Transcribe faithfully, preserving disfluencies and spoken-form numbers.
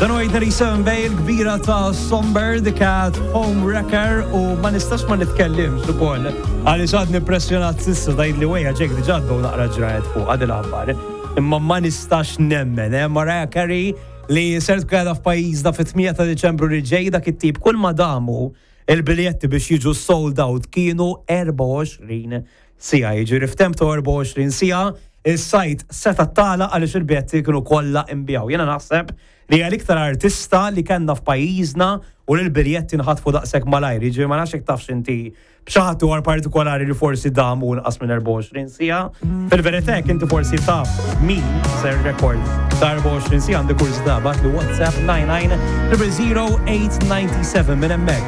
Dan huwa eight ninety-seven Bay, il-kbira ta' Somber, The Cat, Home Wrecker, u ma nistax ma nitkellimx ukoll għaliex għadni impressjonat s'issa. Tgħid li wejja ġek diġà għaddew naqra ġrajet fuq għad il-aħbar. Imma ma nistax nemmen, eh, Mariah Carey li ser tkun f'pajjiżna fit-tmienja ta' Diċembru li ġej. Dak it-tip kull ma damu il-biljetti biex jiġu sold out kienu erbgħa u għoxrin siegħa. Jiġifieri f'temp ta' erbgħa u għoxrin siegħa is-site seta' tala għaliex il-biljetti kienu kollha inbiegħu. Jiena naħseb li hija l-iktar artista li kellna f'pajjiżna u li l-biljetti nħatfu daqshekk malajr. Jiġifieri ma nafx jekk tafx inti b'xi ħadd ieħor partikolari li forsi damu inqas minn erbgħa u għoxrin siegħa. Fil-verità inti forsi taf min ser rekord ta' erbgħa u għoxrin siegħa, għandi kurżità, ibgħatli WhatsApp nine nine zero zero eight nine seven minn hemmhekk.